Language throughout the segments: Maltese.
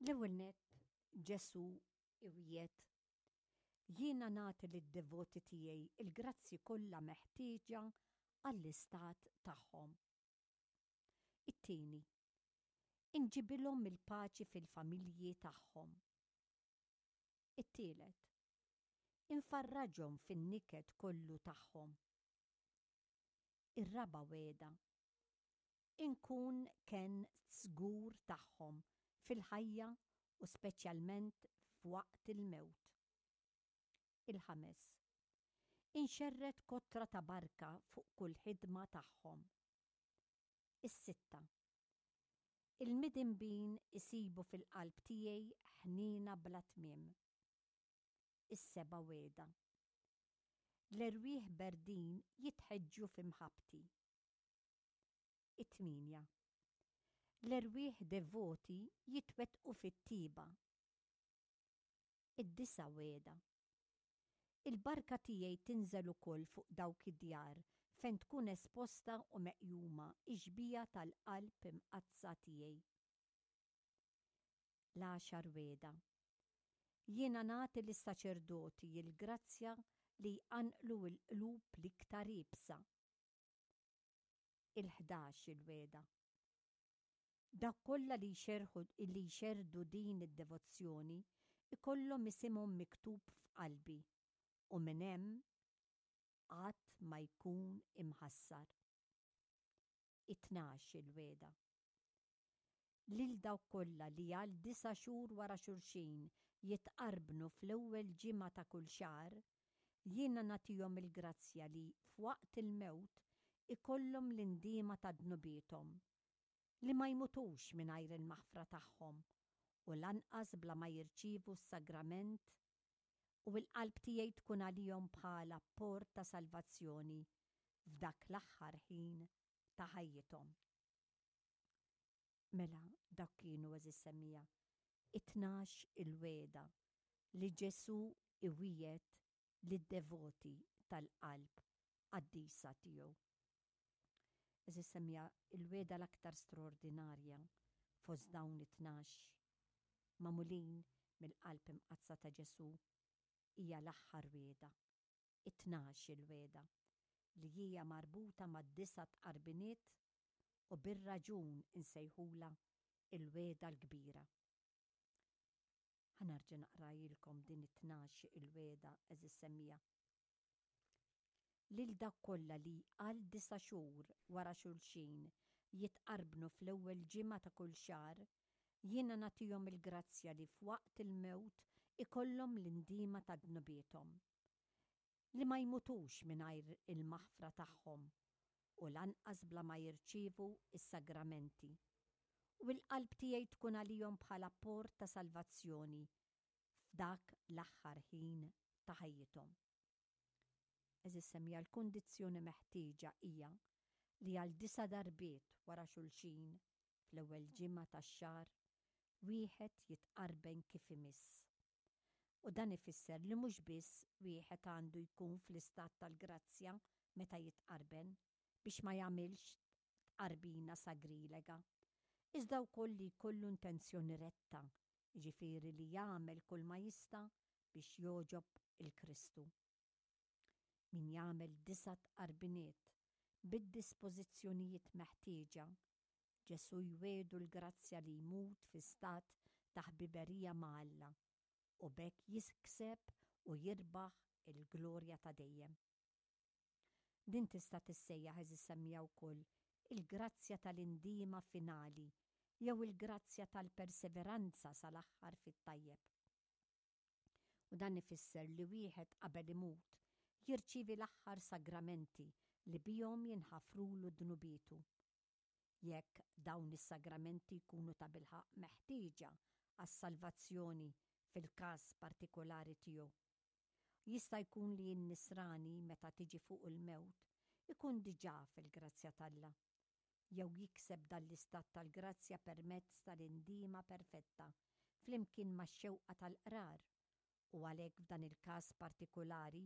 L-ewwel nett Ġesù iwiegħed, Jiena nagħti lid-devoti tiegħi l-grazzji kollha meħtieġa għall-istat tagħhom. It-tieni, inġibilhom il-paċi fil-familji tagħhom. It-tielet, infarraġhom fin-niket kollu tagħhom. Ir-raba' wegħda, inkun kenn żgur tagħhom fil-ħajja u speċjalment f'waqt il-mewt. Il-ħames, inxerred kotra ta' barka fuq kull ħidma tagħhom. Is-sitta, il-midinbin isibu fil-qalb tiegħi ħniena bla tmiem. Is-seba' wegħda, l-erwieħ berdin jitħeġġu fi mħabbti. It-tmienja, l-erwieħ devoti jitwettqu fit-tjieba. Id-disa' wegħda. Il-barka tiegħi tinżel ukoll fuq dawk id-djar fejn tkun esposta u meqjuma x-xbieha tal-Qalb Imqaddsa tiegħi. L-għaxar wegħda. Jiena nagħti lis-saċerdoti l-grazzja li jqanqlu l-qlub l-iktar iebsa. Il-ħdax il-wegħda. Dawk kollha li jxerrħu li jxerrdu din id-devozzjoni jkollhom isimhom miktub f'qalbi u minn hemm qatt ma jkun imħassar. It-tnax il-wegħda. Lil dawk kollha li għal disa' xhur wara xulxin jitqarbnu fl-ewwel ġimgħa ta' kull xahar, jiena nagħtihom il-grazzja li f'waqt il-mewt ikollhom l-indiema ta' dnubiethom, li ma jmutux mingħajr il-maħfra tagħhom u lanqas bla ma jirċievu s-sagrament, u l-qalb tiegħi tkun għalihom bħala port ta' salvazzjoni f'dak l-aħħar ħin ta' ħajjithom. Mela dak kienu, għeżież semmiegħa, it-tnax il-wegħda li Ġesù iwiegħed lid-devoti tal-qalb qaddisa tiegħu. Għeżież semmiegħa, il-wegħda l-aktar straordinarja fost dawn it-tnax, magħmulin mill-Qalb Imqaddsa ta' Ġesù, hija l-aħħar wegħda, it-tnax il-wegħda, li hija marbuta mad-disa' tqarbiniet u bir-raġun insejħulha il-wegħda l-kbira. Ħa nerġa' naqrajilkom din it-tnax il-wegħda għeżież semmiegħa. Lil dawk kollha li għal disa' xhur wara xulxin jitqarbnu fl-ewwel ġimgħa ta' kull xahar, jiena nagħtihom il-grazzja li f'waqt il-mewt ikollhom l-indiema ta' dnubiethom. Li ma jmutux mingħajr il-maħfra tagħhom u lanqas bla ma jirċievu s-sagramenti. U l-qalb tiegħi tkun għalihom bħala port ta' salvazzjoni f'dak l-aħħar ħin ta' ħajjithom. Għeżież semmiegħa l-kundizzjoni meħtieġa hija li għal disa' darbiet wara xulxin fl-ewwel ġimgħa tax-xahar wieħed jitqarben kif imiss. U dan ifisser li mhux biss wieħed għandu jkun fl-istat tal-grazzja meta jitqarben biex ma jagħmilx tqarbina sagrilega, iżda wkoll li jkollu intenzjoni retta, jiġifieri li jagħmel kulma jista' biex jogħġob il-Kristu. Min jagħmel disa' tqarbiniet bid-dispożizzjonijiet meħtieġa, Ġesù jwiegħdu l-grazzja li jmut fi stat ta' ħbiberija ma' Alla u b'hekk jikseb u jirbaħ il-glorja ta' dejjem. Din tista' tissejjaħ eżis semmija wkoll il-grazzja tal-indiema finali jew il-grazzja tal-perseveranza sal-aħħar fit-tajjeb. U dan ifisser li wieħed qabel imut jirċievi l-aħħar sagramenti li bihom jinħafrulu dnubietu. Jekk dawn is-sagramenti jkunu tabilħaqq meħtieġa għas-salvazzjoni fil-każ partikolari tiegħu. Jista' jkun li n-Nisrani meta tiġi fuqu l-mewt ikun diġà fil-grazzja t'Alla. jew jikseb dan l-istat tal-grazzja permezz tal-indiema perfetta flimkien max-xewqa tal-qrar, u għalhekk f'dan il-każ partikulari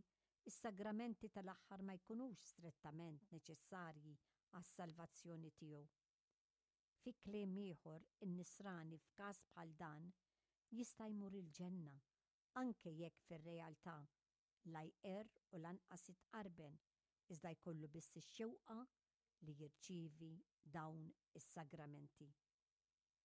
s-sagramenti tal-aħħar ma jkunux strettament neċessarji għas-salvazzjoni tiegħu. Fi kliem ieħor, in-Nisrani f'każ bħal dan. jista' jmur il-ġenna anke jekk fir-realtà la jqerr u lanqas jitqarben iżda jkollu biss ix-xewqa li jirċievi dawn is-sagramenti.